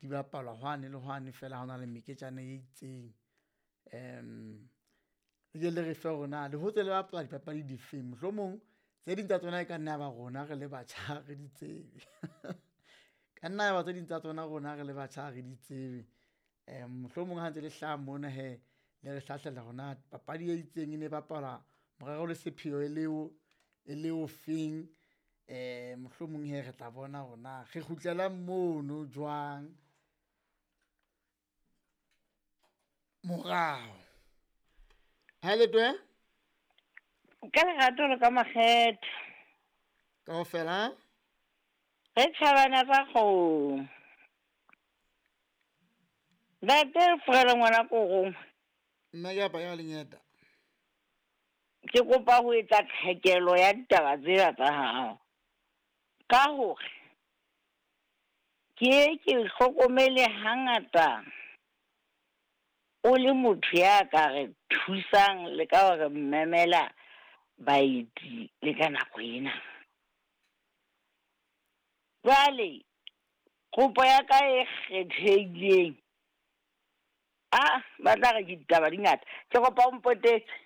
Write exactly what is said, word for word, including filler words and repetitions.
Di bapalwa hwane le hwane feela ha hona le meketjana e itseng. Um le ke le re fe hore na le hotse le bapala dipapadi difeng, mohlomong tse ding tsa tsona e ka nna ya ba rona re le batjha ha re di tsebe. Ka nna ya ba tse ding tsa tsona rona re le batjha ha re di tsebe, mohlomong ha ntse le hlaha mona hee le re hlahlela hore na papadi e itseng e ne bapalwa morero le sepheo e le o, e le o feng. Mohlomong hee re tla bona hore na re kgutlelang mono jwang, morao. Ha letwe Ka lerato le ka makgethe. Kaofela Re tjhabana tsa kgomo. Ntate Forelo ngwana korong. Nna ke apa ya lenyeta. Ke kopa ho etsa tlhekelo ya ditaba tsena tsa hao. Ka hore ke ke hlokomele hangata o le motho ya ka re thusang le ka hore memela baeti le ka nako ena. Jwale kopo ya ka e kgethehileng, ah ba tla re ke ditaba di ngata, ke kopa o mpotetse.